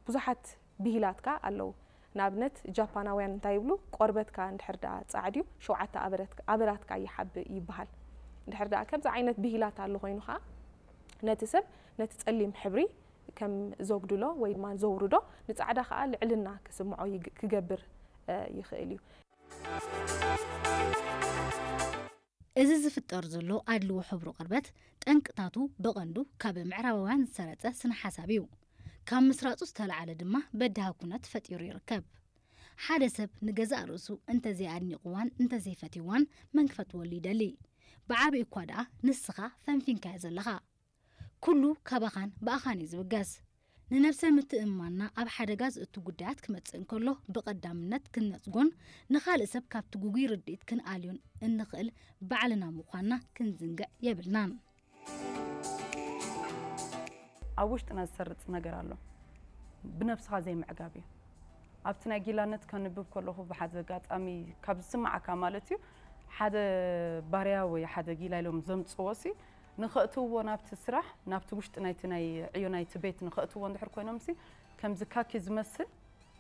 ብዙሓት ብሂላት ከኣ ኣለዉ። ንኣብነት ጃፓናውያን እንታይ ይብሉ? ቆርበትካ እንድሕር ደኣ ጻዕድ እዩ፣ ሸውዓተ ኣበረትካ- ኣበራትካ ይሓብእ ይበሃል። እንድሕር ደኣ ከምዚ ዓይነት ብሂላት ኣሎ ኮይኑ ከኣ ነቲ ሰብ ነቲ ጸሊም ሕብሪ ከም ዘጉድሎ ወይ ድማ ዘውርዶ፣ ንጻዕዳ ከኣ ልዕልና ክስምዖ ይግ- ክገብር እ፣ ይኽእል እዩ። እዚ ዝፍጠር ዘሎ ኣድልዎ ሕብሩ ቅርበት ጠንቅታቱ ብቐንዱ ካብ ምዕራባውያን ዝሰረጸ ስነ ሓሳብ እዩ። ካብ ምስራጹ ዝተላዓለ ድማ በዳሂ ኩነት ፈጢሩ ይርከብ። ሓደ ሰብ ንገዛእ ርእሱ እንተዘይኣድኒቕዋን እንተዘይፈትይዋን መን ክፈትወሉ ይደሊ? ብዓቢኡ እኳ ደኣ ንስኻ ፈንፊንካዮ ዘለኻ። ኩሉ ካባኻን ብኣኻን እዩ ዝብገስ። ንነብሰ ምትእምማንና ኣብ ሓደጋ ዝእቱ ጉዳያት ክመጽእ እንከሎ ብቐዳምነት ክንነጽጎን ንኻልእ ሰብ ካብቲ ግጉይ ርድኢት ክንኣልዮን እንኽእል ባዕልና ምዃንና ክንዝንግዕ የብልናን። ኣብ ውሽጥና ዝሰርጽ ነገር ኣሎ። ብነብስኻ ዘይምዕጋብ እዩ። ኣብቲ ናይ ጊላነት ከንብብ ከለኹ ብሓደ ኣጋጣሚ ካብ ዝስምዓካ ማለት እዩ ሓደ ባርያ ወይ ሓደ ጊላ ኢሎም ዘምጽዎ ሲ ንኸእትውዎ ናብቲ ስራሕ ናብቲ ውሽጢ ናይቲ ናይ ዕዮ ናይቲ ቤት ንኸእትውዎ እንድሕር ኮይኖም ሲ ከምዚ ካኪ ዝመስል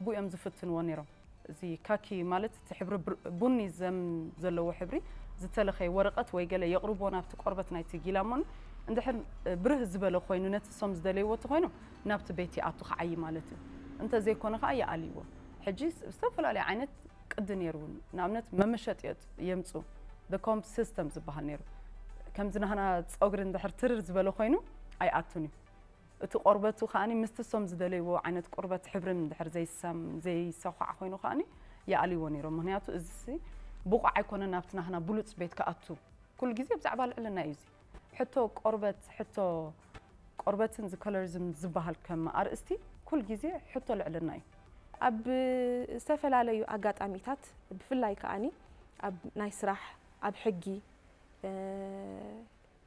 ብኡ እዮም ዝፍትንዎ ነይሮም። እዚ ካኪ ማለት እቲ ሕብሪ ብር- ቡኒ ዘም ዘለዎ ሕብሪ ዝተለኸየ ወረቐት ወይ ገለ የቕርብዎ ናብቲ ቆርበት ናይቲ ጊላ እሞ እንድሕር ብርህ ዝበለ ኮይኑ ነቲ እሶም ዝደለይዎ እቲ ኮይኖም ናብቲ ቤት ይኣቱ ክዓይ ማለት እዩ። እንተዘይኮነ ከዓ ይኣልይዎ። ሕጂ ዝተፈላለዩ ዓይነት ቅዲ ነይሩ እውን ንኣብነት መመሸጢ የምፁ ኮምብ ሲስተም ዝበሃል ነይሩ። ከምዚ ናህና ፀጉሪ እንድሕር ትርር ዝበለ ኮይኑ ኣይኣቱን እዩ። እቲ ቆርበቱ ከዓኒ ምስቲ እሶም ዝደለይዎ ዓይነት ቁርበት ሕብርን እንድሕር ዘይሳም ዘይሰኳዕ ኮይኑ ከዓኒ ይኣልይዎ ነይሮም። ምክንያቱ እዚ ብቑዕ ኣይኮነን ናብቲ ናህና ብሉፅ ቤት ክኣቱ። ኩሉ ግዜ ብዛዕባ ልዕልና እዩ እዚ ሕቶ ቆርበት ሕቶ ቆርበትን እዚ ኮለሪዝም ዝበሃል ከም ኣርእስቲ ኩሉ ግዜ ሕቶ ልዕልና እዩ። ኣብ ዝተፈላለዩ ኣጋጣሚታት ብፍላይ ከዓኒ ኣብ ናይ ስራሕ ኣብ ሕጊ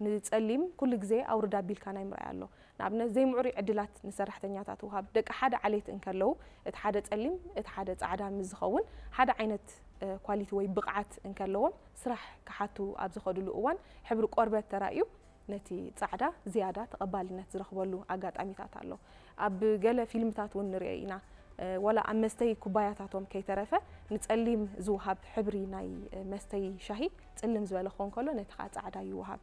ንጸሊም ኩሉ ግዜ ኣውርድ ኣቢልካ ናይ ምርኣይ ኣሎ። ንኣብነት ዘይምዕሩይ ዕድላት ንሰራሕተኛታት ውሃብ። ደቂ ሓደ ዓሌት እንከለዉ እቲ ሓደ ጸሊም እቲ ሓደ ጻዕዳ ምስ ዝኸውን ሓደ ዓይነት ኳሊቲ ወይ ብቕዓት እንከለዎም ስራሕ ክሓቱ ኣብ ዝኸድሉ እዋን ሕብሪ ቆርበት ተራእዩ ነቲ ጻዕዳ ዝያዳ ተቐባልነት ዝረኽበሉ ኣጋጣሚታት ኣሎ። ኣብ ገለ ፊልምታት እውን ንሪኦ ኢና። ዋላ ኣብ መስተይ ኩባያታቶም ከይተረፈ ንጸሊም ዝወሃብ ሕብሪ ናይ መስተይ ሻሂ ጽልም ዝበለ ክኸውን ከሎ ነቲ ከዓ ጻዕዳ ይወሃብ።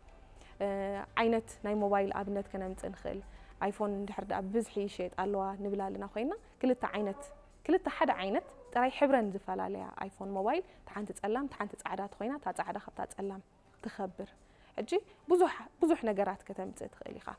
ዓይነት ናይ ሞባይል ኣብነት ከነምጽእ ንኽእል። ኣይፎን እንድሕር ደኣ ብብዝሒ ይሸየጣ ኣለዋ ንብል ኣለና ኮይና ክልተ ዓይነት ክልተ ሓደ ዓይነት ጥራይ ሕብረን ዝፈላለያ ኣይፎን ሞባይል ተሓንቲ ጸላም ተሓንቲ ጻዕዳ ተኮይና እታ ጻዕዳ ካብታ ጸላም ትኸብር። ሕጂ ብዙሕ ብዙሕ ነገራት ከተምጽእ ትኽእል ኢኻ።